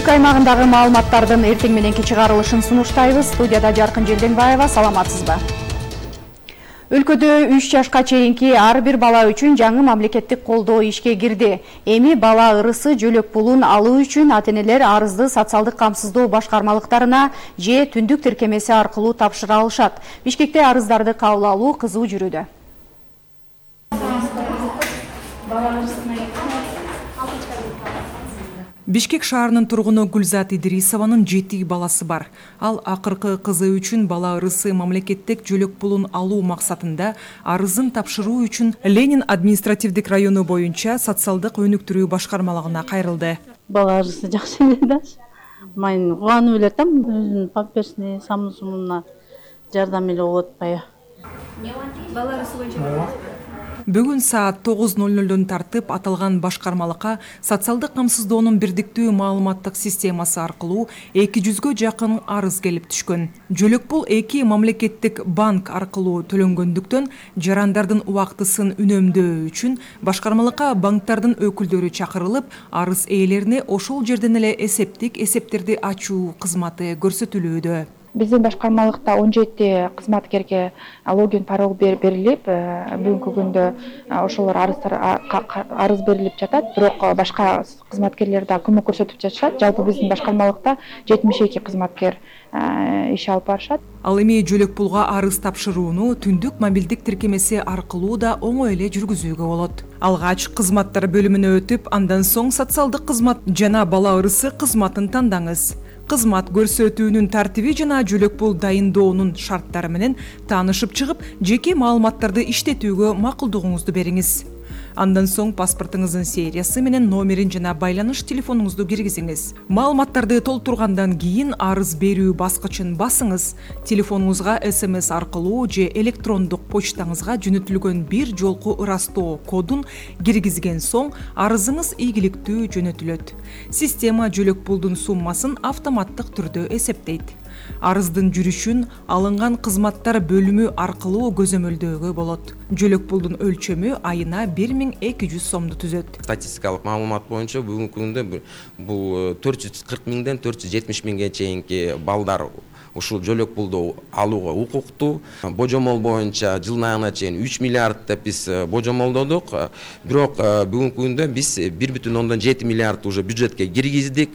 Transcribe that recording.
өлкө аймагындагы маалыматтардын эртең мененки чыгарылышын сунуштайбыз. Студияда Жаркын Желденбаева, саламатсызбы? Өлкөдө 3 жашка чейинки ар бир бала үчүн жаңы мамлекеттик колдоо ишке кирди. Эми бала ырысы жөлөк пулун алуу үчүн ата-энелер арызды социалдык камсыздоо башкармалыктарына же түндүк тиркемеси аркылуу тапшыра алышат. Бишкекте арыздарды кабыл алуу кызуу жүрүүдө. Бишкек шаарынын тургуну Гүлзат Идрисованын 7 баласы бар. Ал акыркы кызы үчүн бала ырысы мамлекеттик жөлөк пулун алуу максатында арызын тапшыруу үчүн Ленин административдик району боюнча социалдык өнүктүрүү башкармалыгына кайрылды. Бала ырысы жакшы эле да. Мен кубанып эле атам, өзүнүн памперсине, самсумуна жардам эле болуп атпайбы. Бала ырысы боюнча Бүгүн саат 9:00 тартып аталган башкармалыкка социалдык камсыздоонун бирдиктүү маалыматтык системасы аркылуу 200гө жакын арыз келип түшкөн. Жөлөк пул 2 мамлекеттик банк аркылуу төлөнгөндүктөн жарандардын убактысын үнөмдөө үчүн башкармалыкка банктардын өкүлдөрү чакырылып, арыз ээлерине ошол жерден эле эсептерди ачуу кызматы көрсөтүлүүдө. Биздин башкармалыкта 17 кызматкерге логин пароль берилип, бүгүнкү күндө ошолор арыз берилип жатат, бирок башка кызматкерлер да көмөк көрсөтүп жатышат. Жалпы биздин башкармалыкта 72 кызматкер иш алып барышат. Ал эми жөлөк пулга арыз тапшырууну түндүк мобилдик тиркемеси аркылуу да оңой эле жүргүзүүгө болот. Алгач кызматтар бөлүмүнө өтүп, андан соң социалдык кызмат жана бала ырысы кызматын тандаңыз. Кызмат көрсөтүүнүн тартиби жана жөлөк пул дайындоонун шарттары менен таанышып чыгып, жеке маалыматтарды иштетүүгө макулдугуңузду бериңиз. Андан соң паспортуңуздун сериясы менен номерин жана байланыш телефонуңузду киргизиңиз. Маалыматтарды толтургандан кийин арыз берүү баскычын басыңыз. Телефонуңузга SMS аркылуу же электрондук почтаңызга жөнөтүлгөн бир жолку ырастоо кодун киргизген соң арызыңыз ийгиликтүү жөнөтүлөт. Система жөлөк пулдун суммасын автоматтык түрдө эсептейт. Арыздын жүрүшүн алынган кызматтар бөлүмү аркылуу көзөмөлдөөгө болот. Жөлөк пулдун өлчөмү айына 1200 сомду түзөт. Статистикалык маалымат боюнча бүгүнкү күндө бул 440 миңден 470 миңге чейинки балдар ушул жөлөк пулду алууга укуктуу. Божомол боюнча жылдын аягына чейин 3 миллиард деп биз божомолдодук. Бирок бүгүнкү күндө биз 1,7 миллиард уже бюджетке киргиздик.